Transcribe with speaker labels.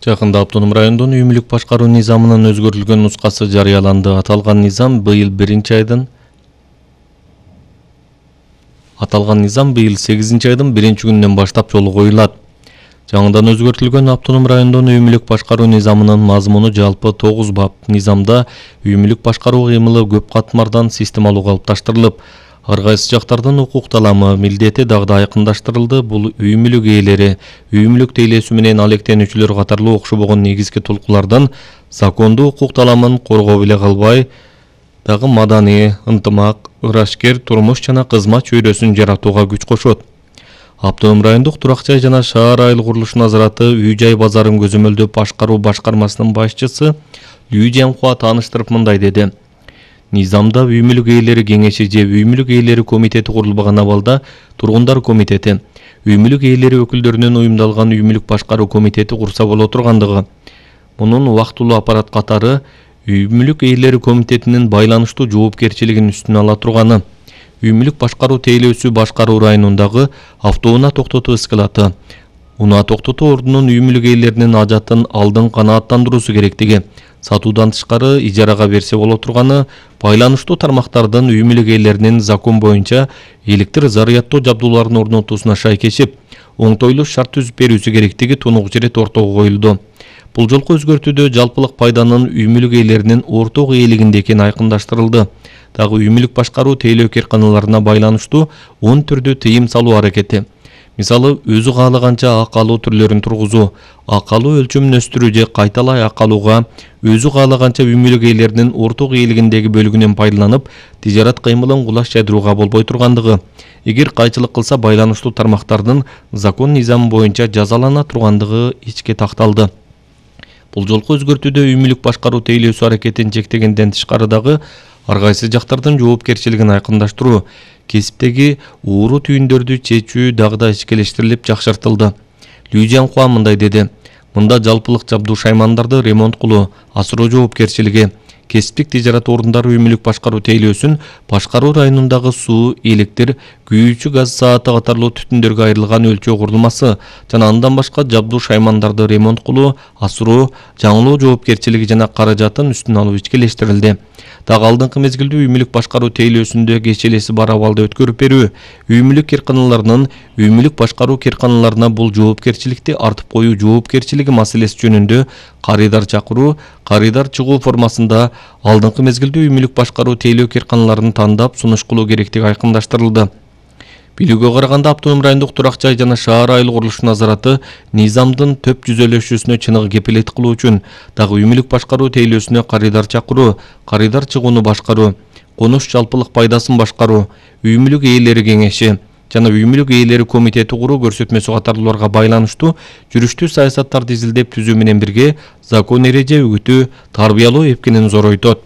Speaker 1: Жакында автоном райондун үй мүлк башкаруу низамынын өзгөртүлгөн нускасы жарыяланды. Аталган низам быйыл 8-айдын 1-күнүнөн баштап жолго коюлат. Жаңыдан өзгөртүлгөн автоном райондун үй мүлк башкаруу низамынын мазмуну жалпы 9 бап. Низамда үй мүлк башкаруу кыймылы көп катмардан системалуу калыпташтырылып, ар кайсы жактардын укук таламы, милдети дагы да айкындаштырылды. Бул үй мүлк ээлери, үй мүлк тейлөөсү менен алектенүүчүлөр катарлуу окшобогон негизги толкулардан закондуу укук таламын коргоо эле калбай, дагы маданий, ынтымак, ырашкер турмуш жана кызмат чөйрөсүн жаратууга күч кошот. Автоном райондук турак жай жана шаар айыл курулуш назараты үй жай базарын көзөмөлдөп башкаруу башкармасынын башчысы Лүү Жамхуа тааныштырып мындай деди. Низамда үй мүлк ээлери кеңеши же үй мүлк ээлери комитети курулбаган абалда тургундар комитети, үй мүлк ээлери өкүлдөрүнөн уюмдалган үй мүлк башкаруу комитети курса боло тургандыгы. Мунун убактылуу аппарат катары үй мүлк ээлери комитетинин байланыштуу жоопкерчилигин үстүнө ала турганы. Үй мүлк башкаруу тейлөөсү башкаруу районундагы автоунаа токтотуу эскалаты, унаа токтотуу ордунун үй мүлк ээлеринин ажатын алдын канааттандыруусу керектиги, сатуудан тышкары ижарага берсе боло турганы, байланыштуу тармактардын үй мүлк ээлеринин закон боюнча электр заряддоо жабдууларын орнотуусуна шайкешип, оңтойлуу шарт түзүп берүүсү керектиги тунук ирет ортого коюлду. Бул жолку өзгөртүүдө жалпылык пайданын үй мүлк ээлеринин орток ээлигинде экени айкындаштырылды. Дагы үй мүлк башкаруу тейлөө керканаларына байланыштуу 10 түрдүү тыйым салуу аракети. Мисалы, өзү каалаганча ак алуу түрлөрүн тургузуу, ак алуу өлчөмүн өстүрүү же кайталай ак алууга өзү каалаганча үй мүлк ээлеринин орток ээлигиндеги бөлүгүнөн пайдаланып, тижарат кыймылын кулаш жайдырууга болбой тургандыгы. Эгер кайчылык кылса байланыштуу тармактардын закон низамы боюнча жазалана тургандыгы ичке такталды. Бул жолку өзгөртүүдө үй мүлк башкаруу тейлөөсү аракетин чектегенден тышкары дагы ар кайсы жактардын жоопкерчилигин айкындаштыруу, кесиптеги ууру түйүндөрдү чечүү дагы да ичкелештирилип жакшыртылды. Лүү Жамхуа мындай деди. Мында жалпылык жабдуу шаймандарды ремонт кылуу, асыроо жоопкерчилиги, кесиптик тижарат орундары үй мүлк башкаруу тейлөөсүн башкаруу районундагы суу, электр, күйүүчү газ сааты катарлуу түтүндөргө айрылган өлчөө курулмасы жана андан башка жабдуу шаймандарды ремонт кылуу, асыроо, жаңылоо жоопкерчилиги жана каражатын үстүнө алуу ичкелештирилди. Дагы алдыңкы мезгилде үй мүлк башкаруу тейлөөсүндө кечелеси бар абалды өткөрүп берүү, үй мүлк керканаларынын үй мүлк башкаруу керканаларына бул жоопкерчиликти артып коюу жоопкерчилиги маселеси жөнүндө карыйдар чакыруу, карыйдар чыгуу формасында алдыңкы мезгилде үй мүлк башкаруу тейлөө керканаларын тандап сунуш кылуу керектиги айкындаштырылды. Билүүгө караганда автоном райондук турак жай жана шаар айыл курулуш назараты низамдын төп жүзөлөшүүсүнө чыныгы кепилеттик кылуу үчүн дагы үй мүлк башкаруу тейлөөсүнө карыйдар чакыруу, карыйдар чыгууну башкаруу, конуш жалпылык пайдасын башкаруу, үй мүлк ээлери кеңеши жана үй мүлк ээлери комитети куруу көрсөтмөсү катарлууларга байланыштуу жүрүштүү саясаттарды изилдеп түзүү менен бирге закон эреже үгүтүү, тарбиялоо эпкенин зоройтот.